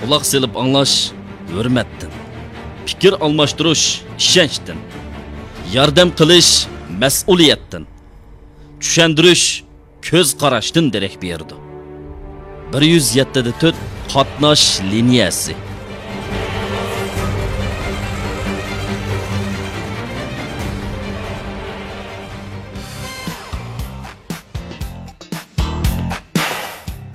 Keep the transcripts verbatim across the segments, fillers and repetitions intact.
قۇلاق سېلىپ ئاڭلاش ھۆرمەتتىن، پىكىر ئالماشتۇرۇش ئىشەنچتىن، ياردەم قىلىش مەسئۇلىيەتتىن، چۈشەندۈرۈش كۆز قاراشتىن دېرەك بېرىدۇ. بىر يۈز يەتتە دە تۆت قاتناش لىنىيەسى.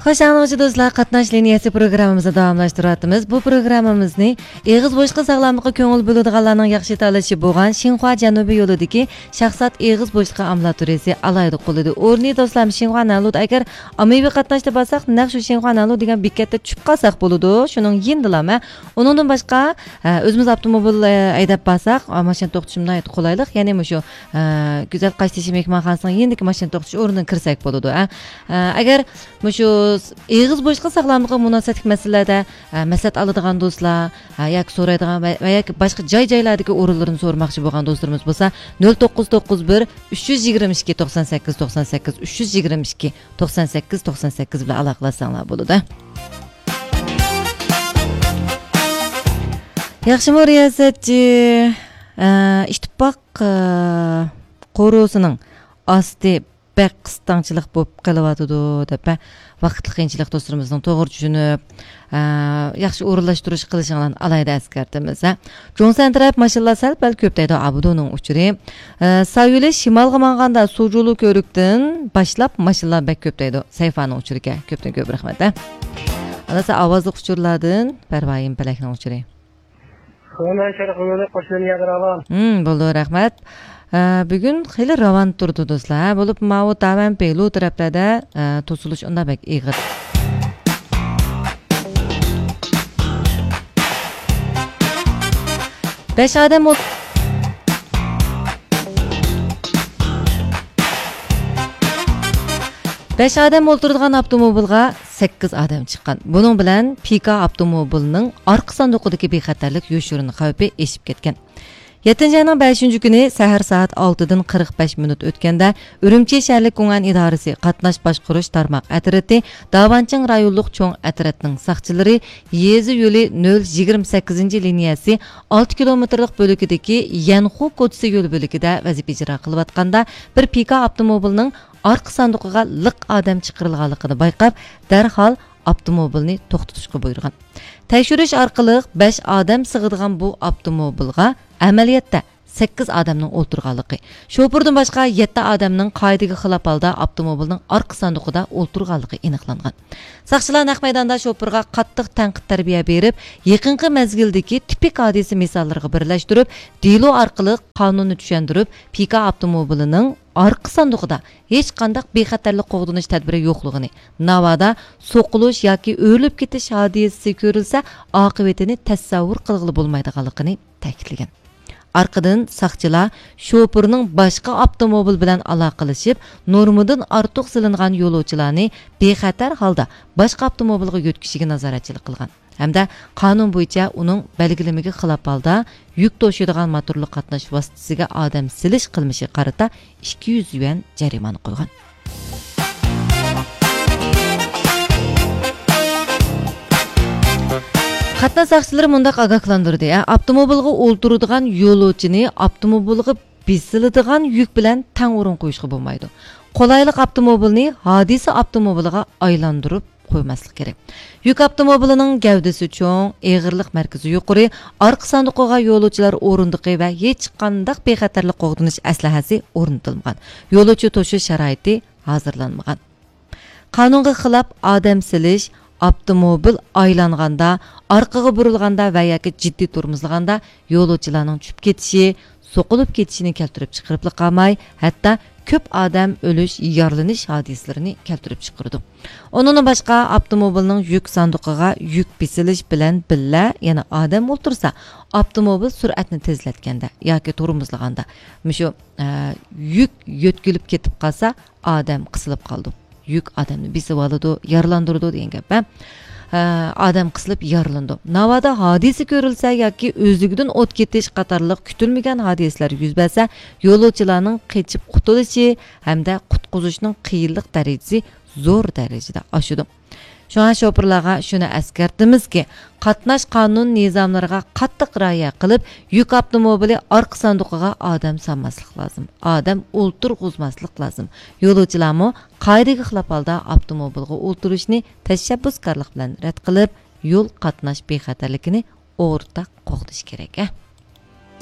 خوش، ئاڭلىغۇچى دوستلار، قاتناش لىنىيەسى پروگراممىمىزنى داۋاملاشتۇرۇۋاتىمىز. بۇ پروگراممىمىزنى ئېغىز بوشلۇقى ساغلاملىققا كۆڭۈل بۆلىدىغانلارنىڭ ياخشى تاللىشى بولغان شىنخۇا جەنۇبىي يولىدىكى شاھزات ئېغىز بوشلۇقى ئامبۇلاتورىيەسى ئالاھىدە قوللىدى. ئورنى، دوستلار، شىنخۇا نەنلۇدا. ئەگەر ئاممىۋى قاتناشتا بارساق، نەق شۇ شىنخۇا نەنلۇ دېگەن بېكەتتە چۈشۈپ قالساق بولىدۇ. شۇنىڭ يېنىدىلا مەن. ئۇنىڭدىن باشقا، ئە، ئۆزىمىز ئاپتوموبىل، ئە، ھەيدەپ بارساق، ئا، ماشىنا توختىتىش ناھايىتى قولايلىق. يەنى مۇشۇ، ئە، گۈزەل قاشتېشى مېھمانخانىسىنىڭ يېنىدىكى ماشىنا توختىتىش ئورنىدىن كىرسەك بولىدۇ، ئە. ئە، ئەگەر مۇشۇ ئېغىز بوشلۇقى ساغلاملىقىغا مۇناسىۋەتلىك مەسىلىلەردە، ئە، مەسلىھەت ئالىدىغان دوستلار، ئە، ياكى سورايدىغان ۋە، ۋە ياكى باشقا جاي-جايلاردىكى ئورۇنلىرىنى سورىماقچى بولغان دوستلىرىمىز بولسا، نۆل توققۇز توققۇز بىر، ئۈچ يۈز يىگىرمە ئىككى، توقسان سەككىز، توقسان سەككىز، ئۈچ يۈز يىگىرمە ئىككى، توقسان سەككىز، توقسان سەككىز بىلەن ئالاقىلەشسەڭلار بولىدۇ. ياخشىمۇ رىياسەتچى؟ ئە، ئىتتىپاق، ئە، قورۇسىنىڭ ئاستى بەك قىستاڭچىلىق بولۇپ قېلىۋاتىدۇ دەپ، ۋاقىتلىق قىيىنچىلىق دوستلىرىمىزنىڭ توغرا چۈشىنىپ، ئە، ياخشى ئورۇنلاشتۇرۇش قىلىشىڭلارنى ئالاھىدە ئەسكەرتىمىز، ھە. جۇڭسەن تەرەپ ماشىنىلار سەل پەل كۆپ دەيدۇ، ئابۇدۇنىڭ ئۇچۇرى. ئە، سايولى شىمالغا ماڭغاندا سۇجۇلۇ كۆۋرۈكتىن باشلاپ ماشىنىلار بەك كۆپ دەيدۇ، سەيفانىڭ ئۇچۇرىكەن. كۆپتىن كۆپ رەھمەت، ھە. ئاندىن ئاۋازلىق ئۇچۇرلاردىن پەرۋايىم پەلەكنىڭ ئۇچۇرى. خۇمەن شەرقىنى قوشۇن يادراغان. ھىم، بولىدۇ، رەھمەت. ئە، بۈگۈن خېلى راۋان تۇرىدۇ، دوستلار. ھە، بولۇپ ماۋۇ تاۋەن پېلۇ تەرەپلەردە، ئە، توسۇلۇش ئۇنداق بەك ئېغىر. بەش ئادەم ئول-، بەش ئادەم ئولتۇرىدىغان ئاپتوموبىلغا سەككىز ئادەم چىققان. بۇنىڭ بىلەن پىكا ئاپتوموبىلىنىڭ ئارقا ساندۇقىدىكى بىخەتەرلىك يوشۇرۇن خەۋپى ئېشىپ كەتكەن. يەتتىنچى ئاينىڭ بەشىنچى كۈنى سەھەر سائەت ئالتىدىن قىرىق بەش مىنۇت ئۆتكەندە، ئۈرۈمچى شەھەرلىك گۇڭئەن ئىدارىسى قاتناش باشقۇرۇش تارماق ئەترىتى، داۋانچىڭ رايونلۇق چوڭ ئەترەتنىڭ ساقچىلىرى يېزا يولى نۆل يىگىرمە سەككىزىنچى لىنىيەسى ئالتە كىلومېتىرلىق بۆلىكىدىكى يەنخۇ كوچىسى يول بۆلىكىدە ۋەزىپە ئىجرا قىلىۋاتقاندا، بىر پىكا ئاپتوموبىلنىڭ ئارقا ساندۇقىغا لىق ئادەم چىقىرىلغانلىقىنى بايقاپ، دەرھال ئاپتوموبىلنى توختىتىشقا بۇيرۇغان. تەكشۈرۈش ئارقىلىق بەش ئادەم سىغىدىغان بۇ ئاپتوموبىلغا ئەمەلىيەتتە سەككىز ئادەمنىڭ ئولتۇرغانلىقى، شوپۇردىن باشقا يەتتە ئادەمنىڭ قائىدىگە خىلاپ ھالدا ئاپتوموبىلنىڭ ئارقا ساندۇقىدا ئولتۇرغانلىقى ئېنىقلانغان. ساقچىلار نەق مەيداندا شوپۇرغا قاتتىق تەنقىد تەربىيە بېرىپ، يېقىنقى مەزگىلدىكى تىپىك ھادىسە مىساللىرىغا بىرلەشتۈرۈپ، دېلو ئارقىلىق قانۇننى چۈشەندۈرۈپ، پىكا ئاپتوموبىلىنىڭ ئارقا ساندۇقىدا ھېچقانداق بىخەتەرلىك قوغدىنىش تەدبىرى يوقلۇقىنى، ناۋادا سوقۇلۇش ياكى ئۆرۈلۈپ كېتىش ھادىسىسى كۆرۈلسە، ئاقىۋىتىنى تەسەۋۋۇر قىلغىلى بولمايدىغانلىقىنى تەكىتلىگەن. ئارقىدىن ساقچىلار شوپۇرنىڭ باشقا ئاپتوموبىل بىلەن ئالاقىلىشىپ، نورمىدىن ئارتۇق سېلىنغان يولۇچىلارنى بىخەتەر ھالدا باشقا ئاپتوموبىلغا يۆتكىشىگە نازارەتچىلىك قىلغان. ھەمدە قانۇن بويىچە ئۇنىڭ بەلگىلىمىگە خىلاپ ھالدا يۈك توشۇيدىغان موتورلۇق قاتناش ۋاسىتىسىگە ئادەم سېلىش قىلمىشىغا قارىتا ئىككى يۈز يۈەن جەرىمانە قويغان. قاتناش ساقچىلىرى مۇنداق ئاگاھلاندۇردى، ئاپتوموبىلغا ئولتۇرىدىغان يولۇچىنى ئاپتوموبىلغا بېسىلىدىغان يۈك بىلەن تەڭ ئورۇن قويۇشقا بولمايدۇ. قولايلىق ئاپتوموبىلنى ھادىسە ئاپتوموبىلىغا ئايلاندۇرۇپ قويماسلىق كېرەك. يۈك ئاپتوموبىلىنىڭ گەۋدىسى چوڭ، ئېغىرلىق مەركىزى يۇقىرى، ئارقا ساندۇقىغا يولۇچىلار ئورۇندۇقى ۋە ھېچقانداق بىخەتەرلىك قوغدىنىش ئەسلىھەسى ئورنىتىلمىغان. يولۇچى توشۇش شارائىتى ھازىرلانمىغان. قانۇنغا خىلاپ ئادەم سېلىش، ئاپتوموبىل ئايلانغاندا، ئارقىغا بۇرۇلغاندا ۋە ياكى جىددىي تورمۇزلىغاندا يولۇچىلارنىڭ چۈشۈپ كېتىشى، سوقۇلۇپ كېتىشىنى كەلتۈرۈپ چىقىرىپلا قالماي، ھەتتا كۆپ ئادەم ئۆلۈش، يارىلىنىش ھادىسىلىرىنى كەلتۈرۈپ چىقىرىدۇ. ئۇنىڭدىن باشقا، ئاپتوموبىلنىڭ يۈك ساندۇقىغا يۈك بېسىلىش بىلەن بىللە يەنە ئادەم ئولتۇرسا، ئاپتوموبىل سۈرئەتنى تېزلەتكەندە ياكى تورمۇزلىغاندا، مۇشۇ، ئە، يۈك يۆتكىلىپ كېتىپ قالسا، ئادەم قىسىلىپ قالىدۇ. يۈك ئادەمنى بېسىۋالىدۇ، يارىلاندۇرىدۇ دېگەن گەپ، ھە؟ ئە، ئادەم قىسىلىپ يارىلىنىدۇ. ناۋادا ھادىسە كۆرۈلسە ياكى ئۆزلۈكىدىن ئوت كېتىش قاتارلىق كۈتۈلمىگەن ھادىسىلەر يۈز بەرسە، يولۇچىلارنىڭ قېچىپ قۇتۇلۇشى ھەمدە قۇتقۇزۇشنىڭ قىيىنلىق دەرىجىسى زور دەرىجىدە ئاشىدۇ. شۇڭا شوپۇرلارغا شۇنى ئەسكەرتىمىزكى، قاتناش قانۇن نىزاملىرىغا قاتتىق رىئايە قىلىپ، يۈك ئاپتوموبىلى ئارقا ساندۇقىغا ئادەم سالماسلىق لازىم، ئادەم ئولتۇرغۇزماسلىق لازىم. يولۇچىلارمۇ قائىدىگە خىلاپ ھالدا ئاپتوموبىلغا ئولتۇرۇشنى تەشەببۇسكارلىق بىلەن رەت قىلىپ، يول قاتناش بىخەتەرلىكىنى ئورتاق قوغدىشى كېرەك.